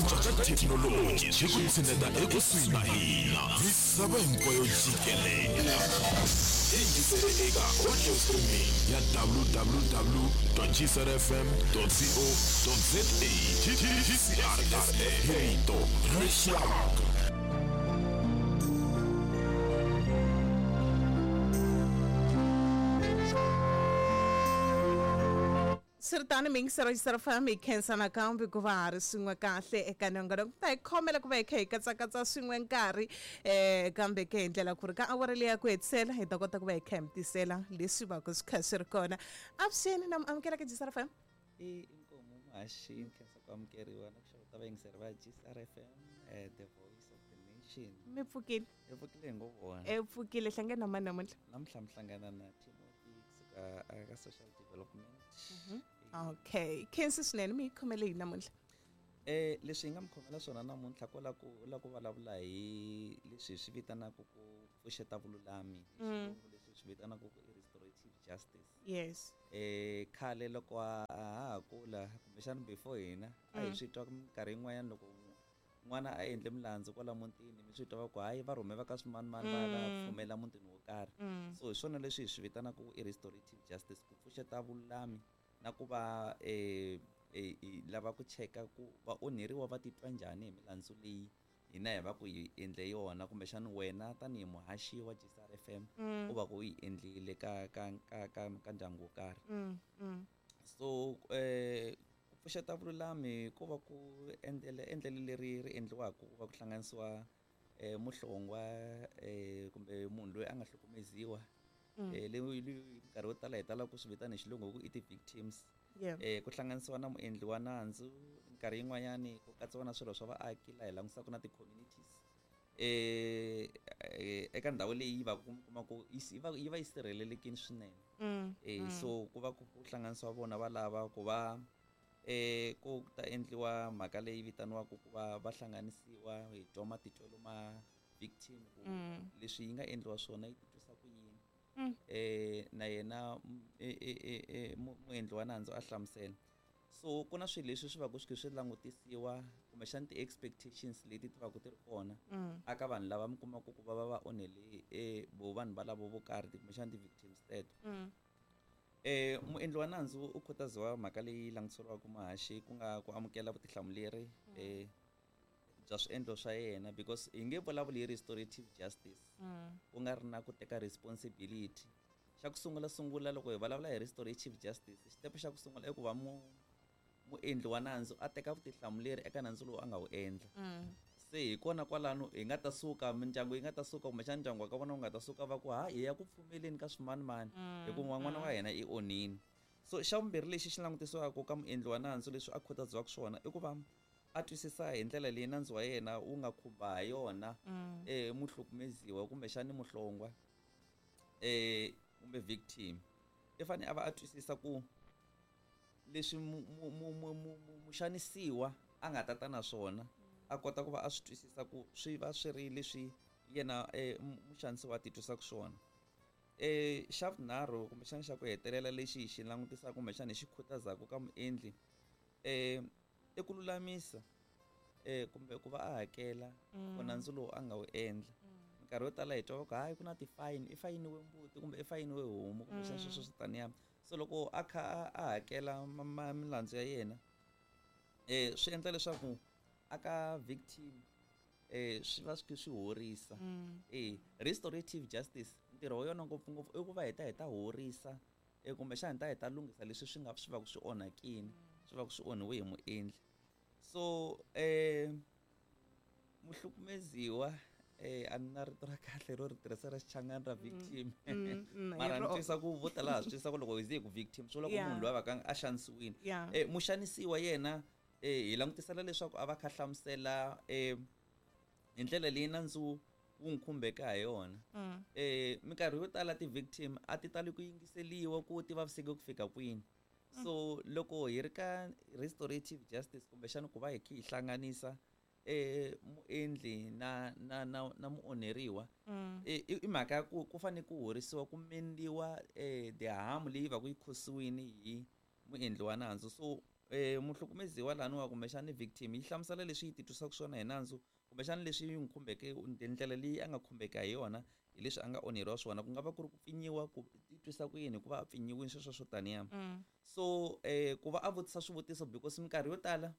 cinca ka thekinoloji xi ku tshineta ekusuhi na hina misava hinkwayo jikelele. Yingisele eka audio streaming ya www.gcrfm.co.za. GCRSA, rito ra rixaka. Swi ri tano, miyingiselo xisarafam, hi khensa nakambe ku va ha ri swin'we kahle eka nongonoko. Ta hi khomela ku va hi kha hi katsakatsa swin'we nkarhi kambe ke hi ndlela ku ri ka awara leyi ya ku hetisela hi ta kota ku va hi kha hi mi tisela leswi va ku swi kha swi ri kona. Avuxeni na mi amukela ka GCRFM. I inkomu muhaxi, khensa ku amukeriwa na ku xeweta vayingiseri va GCRFM, the voice of the nation. Mi pfukile? Hi pfukile hi ngo vona. E pfukile. Hlangana na mani namuntlha? Namuntlha mi hlangana na Timothy kusuka aka social development. Okay, khensi swinene. Mi hi khomele yini namuntlha? Leswi hi nga mi khomela swona namuntlha ko la ku la ku vulavula hi leswi hi swi vitanaka ku pfuxeta vululami, hi xilungu leswi hi swi vitanaka ku i restorative justice. Khale loko a ha kula, kumbexana before hina, a hi swi twa minkarhi yin'wanyana loko n'wana a endle milandzu kwala mutini, mi swi twa va ku hayi, va rhume va ka swimanimani va ya va ya pfumela mutini wo karhi. So hi swona leswi hi swi vitanaka ku i restorative justice, ku pfuxeta vululami na ku va hi lava ku cheka ku vaonheriwa va titwa njhani hi milandzu leyi hina hi va ku hi endle yona, kumbexana wena tanihi muhaxi wa GCRFM u va ku u yi endlile ka ndyangu wo karhi. So ku pfuxeta vululami ku va ku endlela endlelo leri ri endliwaka ku va ku hlanganisiwa muhlongwa kumbe munhu loyi a nga hlukumeziwa, leyi nkarhi wo tala hi tala ku swi vitana hi xilungu ku i ti-victims. Ku hlanganisiwa na muendli wa nandzu, minkarhi yin'wanyani ku katsiwa na swirho swa vaaki laha hi langutisaka na ti-communities eka ndhawu leyi va ku kuma ku yi va yi sirhelelekile swinene. So ku va ku hlanganisiwa vona va lava ku va ku ta endliwa mhaka leyi vitaniwaka ku va va hlanganisiwa, hi twa matitwelo ma victim ku leswi yi nga endliwa swona yi titwisa ku yini. Na yena muendli wa nandzu a hlamusela. So ku na swilo leswi swi va ku swi kha swi langutisiwa, kumbexana ti-expectations leti ti va ku ti ri kona aka vanhu lava mi kumaka ku va va va onhele vo vanhu valavo vo karhi, kumbexana ti-victims teto. Muendli wa nandzu u khutaziwa mhaka leyi langutiseriwaka muhaxi, ku nga ku amukela vutihlamuleri bya swiendlo swa yena, because hi nge vulavuli hi restorative justice ku nga ri na ku teka responsibility. Xa ku sungula sungula loko hi vulavula hi restorative justice, xitepe xa ku sungula i ku va muendli wa nandzu a teka vutihlamuleri eka nandzu lowu a nga wu endla. Se hi kona kwalano hi nga ta suka, mindyangu yi nga ta suka, kumbexana ndyangu wa ka vona wu nga ta suka va ku ha hi ya ku pfumeleni ka swimanimani hikuva n'wana wa hina i onhini. So xa vumbirhi lexi xi langutisiwaka ka muendli wa nandzu, leswi a khutaziwaka swona, i ku va a twisisa hi ndlela leyi nandzu wa yena wu nga khumba ha yona muhlukumeziwa kumbexani muhlongwa kumbe victim. I fanele a va a twisisa ku leswi muxanisiwa a nga tata na swona, a kota ku va a swi twisisa ku swi va swi ri leswi yena muxanisiwa a titwisaka swona. Xa vunharhu kumbexana xa ku hetelela lexi hi xi langutisaka kumbexana hi xi khutazaka ka muendli, i ku lulamisa kumbe ku va a hakela ku nandzu lowu a nga wu endla. Minkarhi yo tala hi twa va ku hayi, ku na ti-fine, i fayiniwe mbuti kumbe i fayiniwe homu kumbexana sweswo swi taniya. So loko a kha a hakela milandzu ya yena, swi endla leswaku aka victim swi va swi swi horisa. Restorative justice ntirho wa yona ngopfungopfu i ku va hi ta horisa, kumbexana hi ta lunghisa leswi swi nga swi va ku swi onhakile, swi va ku swi onhiwe hi muendli. So muhlukumeziwa, a ni na rito ra kahle ro ri tirhisa ra Xichangani ra victim, mara ni twisa ku vo tala ha swi twisa ku loko hi ze hi ku victim swi vula ku munhu loyi a va ka a xanisiwile. Muxanisiwa yena hi langutisela leswaku a va kha hlamusela hi ndlela leyi nandzu wu n'wi khumbeke ha yona. Minkarhi yo tala ti-victim a ti tali ku yingiseliwa ku ti vaviseke ku fika kwini. So loko hi ri ka restorative justice, kumbexana ku va hi kha hi hlanganisa muendli na muonheriwa, i mhaka ya ku ku fanele ku horisiwa, ku mendiwa the harm leyi va ku yi khosiwini hi muendli wa nandzu. So Muhlukumeziwa laniwa kumbexani victim yi hlamusela leswi yi titwisaka swona hi nandzu, kumbexana leswi yi n'wi khumbeke, ndlela leyi a nga khumbeka hi yona hi leswi a nga onheriwa swona, ku nga va ku ri ku pfinyiwa, ku titwisa ku yini ku va a pfinyiwile, sweswo swo taniya. So ku va a vutisa swivutiso, because minkarhi yo tala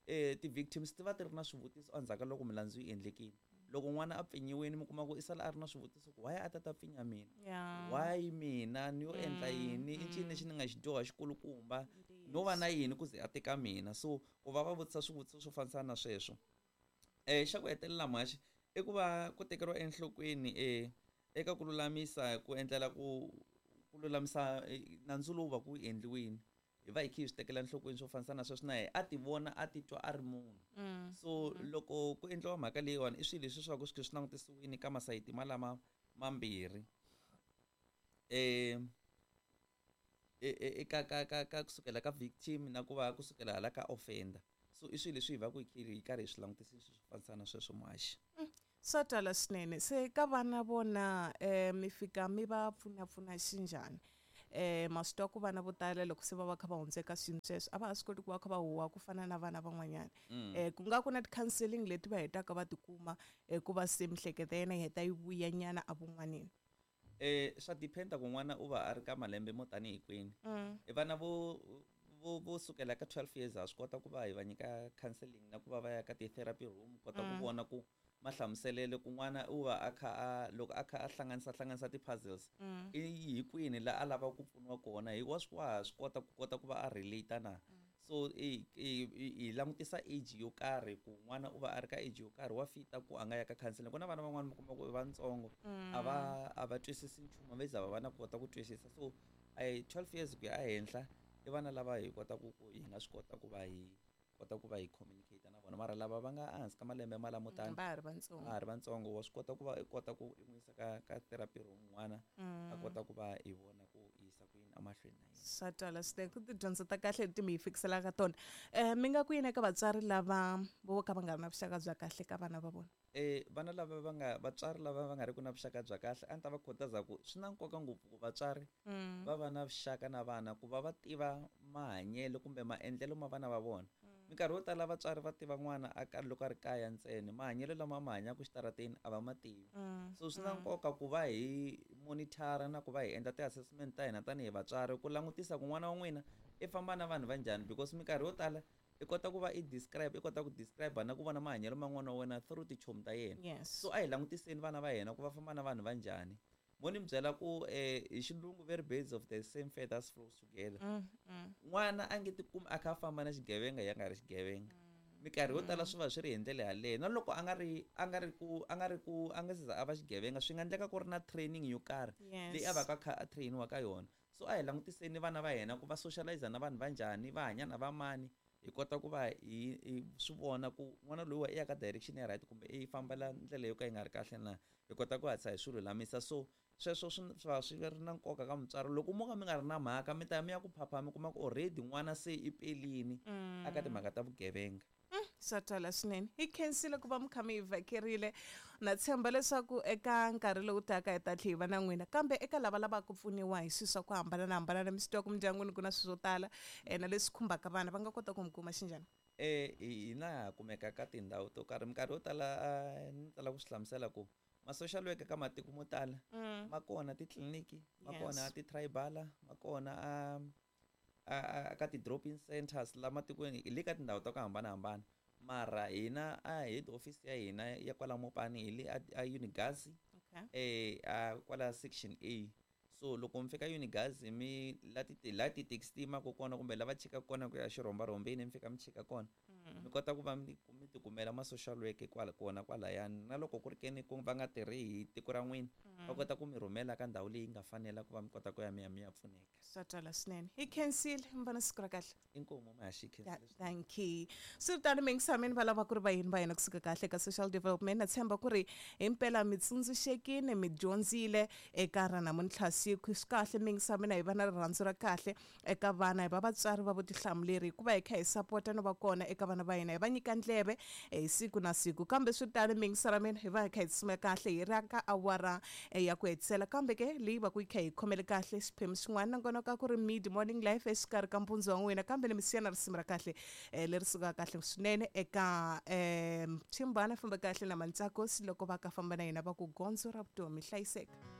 ti-victims ti va ti ri na swivutiso endzhaku ka loko milandzu yi endlekile. Loko n'wana a pfinyiwile, mi kuma ku i sala a ri na swivutiso ku why a ta ta pfinya mina, why mina, ni yo endla yini, i ncini lexi ni nga xi dyoha xikulukumba, no va na yini ku ze a teka mina. So ku va va vutisa swivutiso swo fambisana na sweswo. Xa ku hetelela mhaxi i ku va ku tekeriwa enhlokweni eka ku lulamisa, ku endlela ku lulamisa nandzu lowu va ku endliwini, hi va hi kha hi swi tekela enhlokweni swo fambisana na sweswo, na yena a ti vona, a titwa a ri munhu. So loko ku endliwa mhaka leyiwani, i swilo leswi swi va ku swi kha swi langutisiwile ka masayiti malama mambirhi, eka ka kusukela ka victim na ku va kusukela hala ka offender. So i swilo leswi hi va ku hi karhi hi swi langutisile swi fambisana na sweswo muhaxi. Swa twala swinene. Se ka vana vona, mi fika mi va pfunapfuna xinjhani? Ma swi twa ku vana vo tala loko se va va kha va hundza eka swiyimo sweswo, a va ha swi koti ku va kha va huwa ku fana na vana van'wanyana. Ku nga ku na ti-counselling leti va hetaka va tikuma ku va se mihleketo ya yena yi heta yi vuya nyana evun'waneni. Swa depend ku n'wana u va a ri ka malembe mo tanihi kwini. Vana vo sukela ka 12 years ha swi kota ku va hi va nyika counselling na ku va va ya ka ti-therapy room, kota ku vona ku mahlamuselele ku n'wana u va a kha a, loko a kha a hlanganisa ti-puzzles, i hi kwini la a lavaka ku pfuniwa kona, hi wa swi, wa ha swi kota ku kota ku va a relate na. So hi langutisa age yo karhi, ku n'wana u va a ri ka age yo karhi wa fita ku a nga ya ka counseling. Ku na vana van'wani mi kuma ku i vatsongo, a va twisisi nchumu, va za va va na kota ku twisisa. So 12 years ku ya ehenhla i vana lava hi kota ku hi nga swi kota ku va hi kota ku va hi communicate na vona. Mara lava va nga ehansi ka malembe malamo tani, va ha ri vatsongo, va ha ri vatsongo, wa swi kota ku va i kota ku i n'wi yisa ka therapy room n'wana, a kota ku va hi vona ku yisa ku yini emahlweni na yena. Swa twala swinene, ku tidyondzo ta kahle leti mi hi fikiselaka tona. Mi nga ku yini eka vatswari lava vo ka va nga ri na vuxaka bya kahle ka vana va vona? Vana lava va nga, vatswari lava va nga ri ku na vuxaka bya kahle, a ni ta va khutaza ku swi na nkoka ngopfu ku vatswari va va na vuxaka na vana, ku va va tiva mahanyelo kumbe maendlelo ma vana va vona. Minkarhi yo tala vatswari va tiva n'wana a ka loko a ri kaya ntsena, mahanyelo lama ma hanyaka xitarateni a va ma tivi. So swi na nkoka ku va hi monitor na ku va hi endla ti-assessment ta hina tanihi vatswari, ku langutisa ku n'wana wa n'wina i famba na vanhu va njhani, because minkarhi yo tala i kota ku va i describe, i kota ku describe na ku vona mahanyelo ma n'wana wa wena through tichomi ta yena. So a hi langutiseni vana va hina ku va famba na vanhu va njhani. Mo ni mi byela ku hi xilungu very birds of the same feathers flows together. N'wana a nge tikumi a kha a famba na xigevenga ya nga ri xigevenga. Minkarhi yo tala swi va swi ri hi ndlela yaleyo. Na loko a nga ri, a nga ri ku, a nga ri ku, a nga se za a va xigevenga, swi nga endleka ku ri na training yo karhi leyi a va ka kha a trainiwa ka yona. So a hi langutiseni vana va hina ku va socialize na vanhu va njhani, va hanya na va mani, hi kota ku va hi swi vona ku n'wana loyiwa i ya ka direction ya right kumbe i fambela ndlela yo ka yi nga ri kahle na, hi kota ku hatlisa hi swi lulamisa. So sweswo swi va swi ri na nkoka ka mutswari. Loko mo ka mi nga ri na mhaka, mi ta ya mi ya ku phapha, mi kuma ku already n'wana se i pelini aka timhaka ta vugevenga. Swa twala swinene. Hi khensile ku va mi kha mi hi vhakerile. Na tshemba leswaku eka nkarhi lowu taka hi ta tlhela hi va na n'wina. Kambe eka lava lavaka ku pfuniwa hi swilo swa ku hambanahambana, mi swi tiva ku mindyangwini ku na swilo swo tala na leswi khumbaka vana, va nga kota ku mi kuma xinjhani? Hina ha kumeka ka tindhawu to karhi. Minkarhi yo tala ni tala ku swi hlamusela ku ma-social worker ka matiko mo tala ma kona titliliniki, ma kona ti-tribal, ma kona a ka ti-drop-in centers la matikweni, hi le ka tindhawu ta ku hambanahambana. Mara hina a head office ya hina ya kwala Mopani hi le a Unigas, a kwala section A. So loko mi fika Unigas, mi la ti, la ti-taxi ti yimaka kona kumbe lava chikaka kona ku ya xirhombarhombeni, mi fika mi chika kona, mi kota ku va mi tikumela ma-social worker kwala kona kwalayani. Na loko ku ri keni ku va nga tirhi hi tiko ra n'wina, va kota ku mi rhumela ka ndhawu leyi nga fanela ku va mi kota ku ya mi ya mi ya pfuneka. Swa twala swinene. Hi khensile, mi va na siku ra kahle. Inkomu mahaxi, khensile swinene. Thank you. Swi ri tano, mingisameni va lava ku ri vayeni va hina kusuka kahle ka social development. Na tshemba ku ri himpela mi tsundzuxekile, mi dyondzile eka ra namuntlha siku. Swi kahle mingisameni, hi va na rirhandzu ra kahle eka vana, hi va vatswari va vutihlamuleri, hikuva hi kha hi sapota no va kona eka vana va hina, hi va nyika ndleve. hi siku na siku. Kambe swi tano miyingisera mina hi va hi kha hi tsutsuma kahle hi ri ka awara ya ku hetisela, kambe ke leyi va ku yi kha hi khomele kahle xiphemu xin'wana nakona ka ku ri mid morning life exikarhi ka mpundzu wa n'wina. Kambe ni mi siya na risimu ra kahle leri sukaka kahle swinene eka Chimbana famba kahle na Mantsakosi loko va ka famba na yena va ku gondzo ra vutomi. Hlayiseka.